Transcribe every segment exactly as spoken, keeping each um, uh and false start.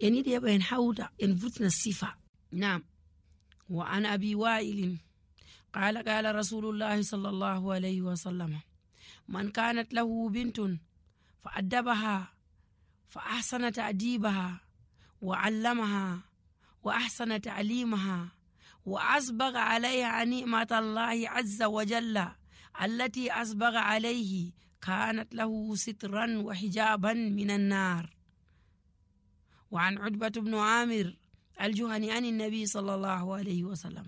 En yiɗi heɓa en hawta, en vurtina sifa. Naam. Wa an Abi Wa'ilin, qala, qala Rasulullahi sallallahu alayhi wa sallam, man kanat lahu bintun fa addabaha, fa ahsana ta'dibaha, wa allamaha, wa ahsana ta'limaha, wa asbagha alayha ni'matallahi azza wa jalla, allati asbagha alayhi, kanat lahu sitran wa hijaban minan nar. وعن عتبة بن عامر الجهني عن النبي صلى الله عليه وسلم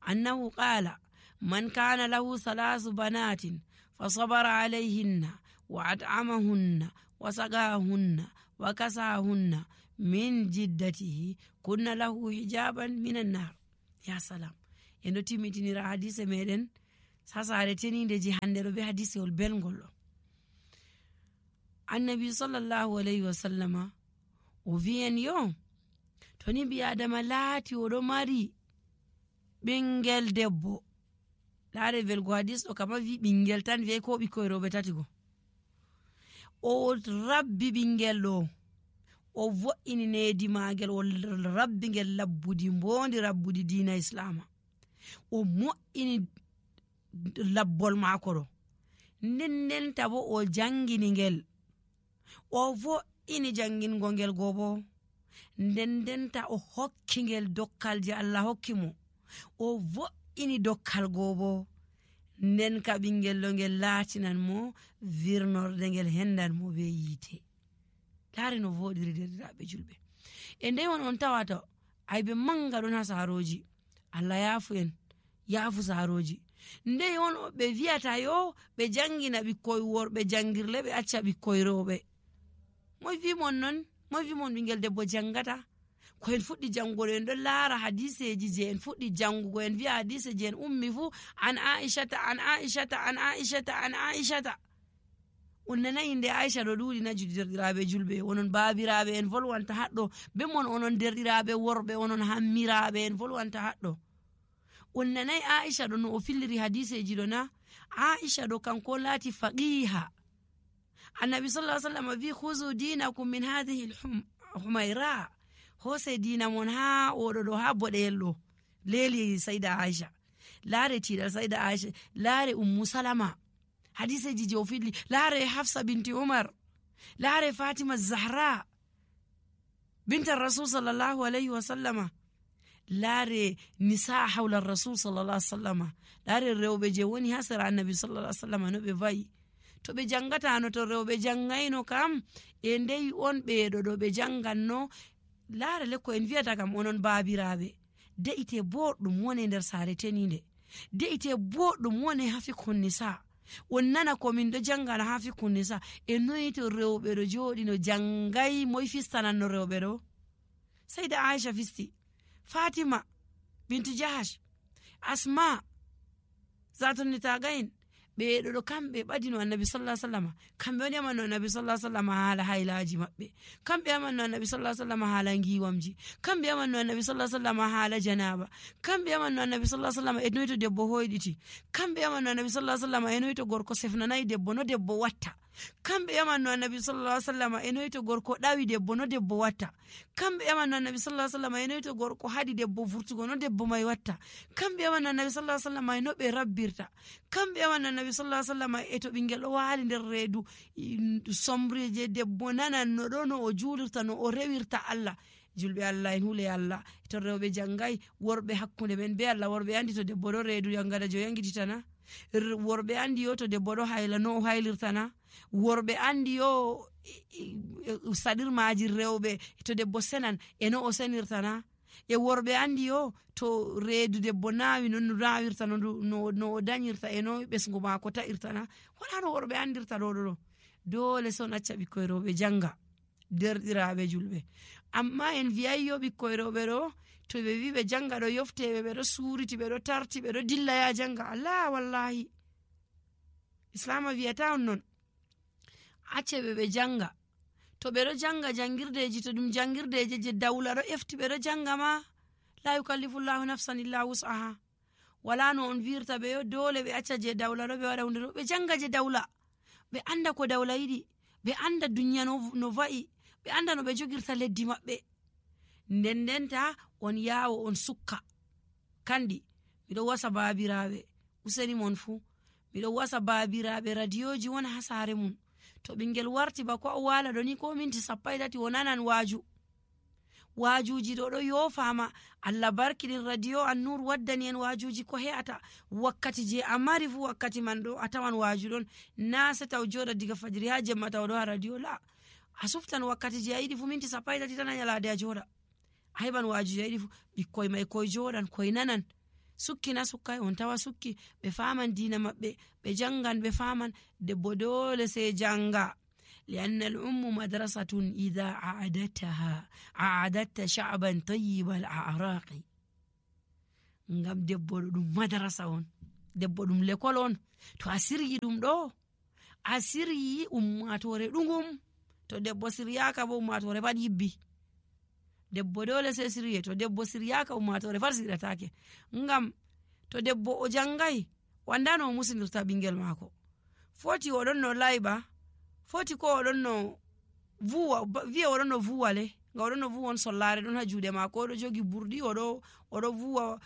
أنه قال: من كان له ثلاث بنات فصبر عليهن وأطعمهن وسقاهن وكساهن من جدته كن له حجابا من النار. Ya salam. En ɗo timmitinira hadise meɗen sasare teninde ji hande ɗo be hadisewol belngol ɗo. Annabi sallallahu alayhi wa sallama o wi'en yo, to ni ɓi adama laati oɗo mari ɓingel debbo, laare velgo hadis ɗo kama wi ɓingel tan, wi'ay ko ɓikkoy rewɓe tati go. O rabbi ɓingel ɗo, o vo'ini needi maagel, o rabbi ngel labbudi mboondi, rabbudi diina islaama. O mo'ini labbol maako ɗo. Nden ndenta bo o jangini ngel. O vo'ini jangingo ngel go bo. Nden ndenta o hokki ngel dokkal je Allah hokki mo. O vo'ini dokkal go bo. Nden ka ɓingel ɗo ngel laatinan mo virnorde, ngel hendan mo be yiite. Laare no vooɗiri, derɗiraaɓe julɓe. E ndey on, on tawata aybe manga ɗon ha saarooji. Allah yaafu en, yaafu saarooji. Ndey on ɓe wi'ata yo ɓe jangina ɓikkoy worɓe jangirle, ɓe acca ɓikkoy rewɓe. Moy wi mon non? Moy wi mon ɓingel debbo jangata? Ko en fuɗɗi jangugo ɗo, en ɗon laara hadiseeji je en fuɗɗi jangugo, en wi'a hadise je en ummi fu, an Aishata, an Aishata, an Aishata, an Aishata. On nanay inde Aisha ɗo ɗuuɗi na, ju-, derɗiraaɓe julɓe? Onon baabiraaɓe en volwanta haɗɗo. Be mon onon derɗiraaɓe worɓe, onon hammiraaɓe en volwanta haɗɗo. On nanay Aisha ɗo no o filliri hadiseeji ɗo na? Aisha ɗo kanko on laati faqiha. Annabi sallallahu alaihi wasallam wi, "Khuzu dinakum min hadhihi al-hum-, humaira." Hose diina mon ha oɗo ɗo, ha boɗeyel ɗo. Leeli Saida Aisha. Laare tiiɗal Saida Aisha. Laare Ummu Salama. Hadiseeji je o filli. Laare Hafsa binti Umar. Laare Fatima Zahra. Binta Rasul sallallahu alaihi wasallama. Laare nisa hawla Rasul sallallahu alaihi wasallama. Laare rewɓe je woni ha sera Annabi sallallahu alaihi wasallama no ɓe va'i. To ɓe jangatano, to rewɓe jangayno kam, e ndey on ɓeeɗo ɗo ɓe janganno, laare le ko en wi'ata kam onon baabiraaɓe. De'ite boɗɗum wone nder saare teninde. De'ite boɗɗum wone ha fikhun nisa. On nana ko min ɗo jangana ha fikhun nisa. E noy to rewɓe ɗo jooɗi no jangay, moy fistananno rewɓe ɗo? Saida Aisha fisti. Fatima bintu Jahash. Asma. Zatun nitagain. Ɓeeɗo ɗo kamɓe ɓadino Annabi sallallahu alaihi wasallama. Kamɓe on yamanno Annabi sallallahu alaihi wasallama haala haylaaji maɓɓe. Kamɓe yamanno Annabi sallallahu alaihi wasallama haala ngiwamji. Kamɓe yamanno Annabi sallallahu alaihi wasallama haala janaba. Kamɓe yamanno Annabi sallallahu alaihi wasallama e noy to debbo hoyɗiti. Kamɓe yamanno Annabi sallallahu alaihi wasallama e noy to gorko sefnanay debbo, no debbo watta. Kamɓe yamanno Annabi sallallahu alaihi wasallama e noy to gorko ɗawi debbo, no debbo watta. Kamɓe yamanno Annabi sallallahu alaihi wasallama e noy to gorko haɗi debbo vurtugo, no debbo may watta. Kamɓe yamanno Annabi sallallahu alaihi wasallama e no ɓe rabbirta. Kamɓe yamanno Annabi sallallahu alaihi wasallama e to ɓingel ɗo waali nder reedu, i, somri je debbo nananno ɗo, no o juulirta, no o rewirta Allah. Julɓe Allah en, hule Allah. To rewɓe jangay, worɓe hakkunde men be Allah, worɓe andi to debbo ɗo reedu yangada jo yangititana. R-, worɓe andi yo to debbo ɗo hayla, no o haylirtana. Worɓe andi yo, i, i, i, saɗirmaji rewɓe to debbo senan, e no o senirtana. E worɓe andi yo to reedu debbo naawi, non no naawirta, no ndu, no, no o dañirta, e no ɓesngu maako ta'irtana. Wala no worɓe andirta ɗo, ɗo, ɗo. Doole son acca ɓikkoy rewɓe janga. Derɗiraaɓe julɓe. Amma en wi'ay yo ɓikkoy rewɓe ɗo, to ɓe wi ɓe janga ɗo yofte ɓe, ɓe ɗo suuriti, ɓe ɗo tarti, ɓe ɗo dilla ya janga. Alaa, wallahi. Islaama wi'ata on non. Acce ɓe, ɓe janga. To ɓe ɗo janga jangirdeji, to ɗum jangirdeje je dawla ɗo efti ɓe ɗo janga ma, la yukallifullahu nafsan illa wus'aha. Wala no on wi'irta ɓe yo doole ɓe acca je dawla ɗo, ɓe waɗa hunde ɗo. Ɓe janga je dawla. Ɓe anda ko dawla yiɗi. Ɓe anda dunya no, no va'i. Ɓe anda no ɓe jogirta leddi maɓɓe. Nden ndenta on yaawo on sukka. Kandi, miɗo wasa baabiraaɓe, useni mon fuu. Miɗo wasa baabiraaɓe radiyooji wona haa saare mum. To ɓinngel warti ba ko o waala ɗo ni ko minti sappo e tati o nanan waaju. Waajuuji ɗo ɗo yoofaama. Allah barkiɗin radiyo Annuur waddani en waajuuji ko he'ata. Wakkati je a mari fuu wakkati man ɗo a tawan waaju ɗon. Na se taw jooɗa diga fajiri haa jemma taw ɗo haa radiyo la. A suftan wakkati je a yiɗi fuu minti sappo e tati tan a nyalaade a jooɗa. A heɓan waaju jayɗi fuu. Ɓikkoy may koy jooɗan koy nanan. Sukki na sukkay on tawa sukki. Ɓe faaman diina maɓɓe. Ɓe janngan ɓe faaman. Debbo doole sey jannga. Li anna al ummu madrasatun ida aadattaha aadatta sha'ban tayyibal a'raqi. Ngam debbo ɗo ɗum madrasa on. Debbo ɗum lekol on. To a siryi ɗum ɗo a siryi ummaatoore ɗugum. To debbo siryaaka bo ummaatoore pat yibbi. Debbo doole sey sirye. To debbo siryaaka ummaatoore pat siryataake. Ngam to debbo o janngay wandano o musinirta ɓinngel maako. Foti o ɗon no layɓa. Foti ko o ɗon no vuwa wiye o ɗon no vuwa le. Nga o ɗon no vuwa on sollaare ɗon haa juuɗe maako o ɗo jogi burɗi o ɗo o ɗo vuwa.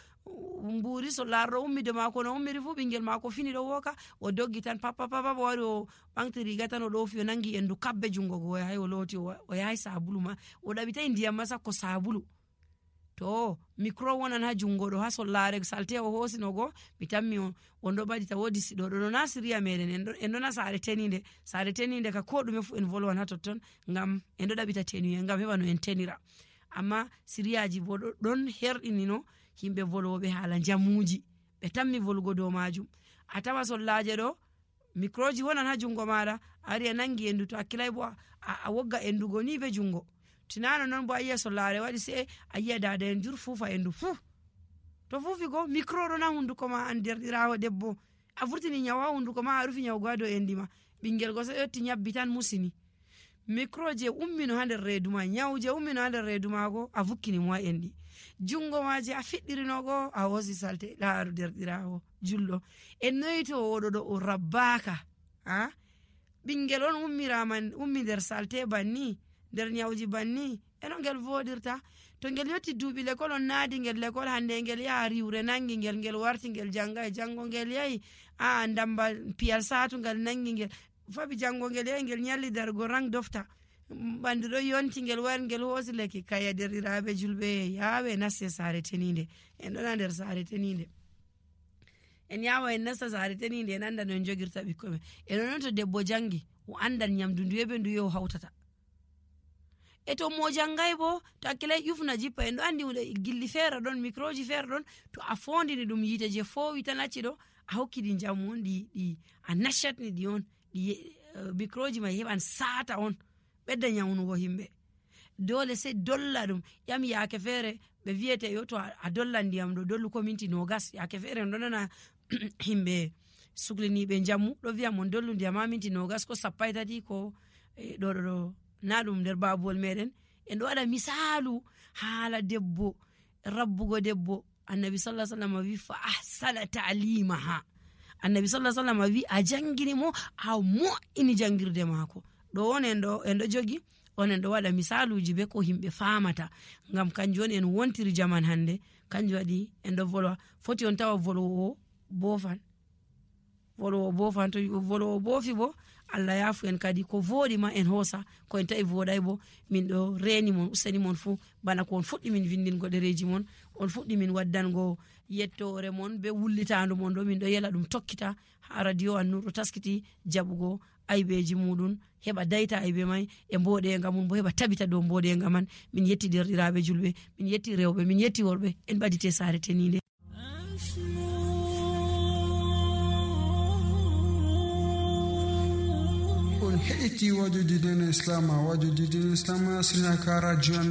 Mbuuri sollaare ɗo ummi de maako no ummiri fuu ɓinngel maako fini ɗo wooka. O doggi tan pappa pappa o wari o ɓaŋti riga tan o ɗoofi o nanngi enndu kabbe junngo go o yahay o looti o yahay saabulu ma. O ɗaɓitay ndiyam ma sakko saabulu. To mikro wonan haa junngo ɗo haa sollaare salte o hoosino go. Mi tammi on on ɗo mbaɗi ta woodi siɗo ɗo ɗo na siriya meɗen en ɗo na saare teniinde. Saare teniinde ka ko ɗume fuu en volwan haa totton. Ngam en ɗo ɗaɓita teniye ngam heɓa no en tenira. Amma siriyaaji bo ɗon herɗinino yimɓe volwooɓe haala njamuuji. Ɓe tammi volugo dow maajum. A tawa sollaaje ɗo mikrooji wonan haa junngo maaɗa. A ari a nanngi enndu to hakkilay bo a wogga enndugo ni bee junngo. Tinano noon bo a yiya sollaare waɗi se a yiya daada en jur fuufa enndu fuu. To fuufi go mikro ɗon haa hunnduko ma an derɗiraawo debbo. A vurtini nyawu haa hunnduko ma a rufi nyawu go haa dow enndi ma. Ɓinngel go so ƴetti nyabbi tan musini. Mikro je ummino haa nder reedu ma nyawu je ummino haa nder reedu ma go a vukkini mo haa enndi. Junngo ma je a fiɗɗirino go a hoosi salte laaru derɗiraawo julɗo. En noyito oɗo ɗo o rabbaaka. Ha ɓinngel on ummirama ummi nder salte banni nder nyawji banni. Eno ngel voɗirta. To ngel yotti duuɓi lekol on naadi ngel lekol hannde ngel yaha riwre nanngi ngel ngel warti ngel jannga e janngo ngel yahi. A ndamba piyal saatu ngal nanngi ngel fabi janngo ngel yahi ngel nyalli dargo rang dofta. Ɓanndu ɗo yonti ngel wari ngel hoosi lekki kaya derɗiraaɓe julɓe yaawe naste saare teniinde. En ɗona nder saare teniinde. En yaawa en nasta saare teniinde en annda no en jogirta ɓikkoy men. E noon to debbo janngi o anndan nyamdu nduye be nduye o hawtata. E to mo janngay bo to hakkilay ƴufna jippa en ɗo anndi hunde gilli feere ɗon mikroji feere ɗon. To a foondini ɗum yiite je foowi tan acci ɗo a hokki ɗi njamu on ɗi ɗi a nashatni ɗi on ɗi. Mikroji ma heɓan saata on ɓedda nyawnugo yimɓe. Doole sey dolla ɗum ƴam yaake feere ɓe wiyete yo to a dollan ndiyam ɗo dollu ko minti nogas yaake feere en ɗo nana. Yimɓe sukliniiɓe njamu ɗo wiya mon dollu ndiyam ha minti nogas ko sappo e tati ko ɗo ɗo ɗo na ɗum nder babuwol meɗen. En ɗo waɗa misaalu haala debbo rabbugo debbo. Annabi sallah sallam wi fa ahsana ta'limaha. Annabi sallah sallam wi a jangini mo a mo'ini jangirde maako. Ɗo on en ɗo en ɗo jogi on en ɗo waɗa misaaluuji be ko yimɓe faamata. Ngam kanjum woni en wontiri jaman hannde. Kanjum waɗi en ɗo volwa foti on tawa volwoowo boofan. Volwoowo boofan to volwoowo boofi bo allah yaafu en kadi ko vooɗi ma en hoosa. Ko en tawi vooɗay bo min ɗo reeni mon useni mon fuu. Bana ko on fuɗɗi min vinndingo ɗereeji mon on fuɗɗi min waddango yettoore mon be wullitaandu mon ɗo min ɗo yela ɗum tokkita. Haa radio annur ɗo taskiti jaɓugo aybeeji muɗum heɓa dayta aybe may e mboɗeega mum bo heɓa tabita dow mboɗeega man. Min yetti derɗiraaɓe julɓe min yetti rewɓe min yetti worɓe en ɓadite saare teniinde. On heɗiti wajuji dina islam wajuji dina islam sinaka radio.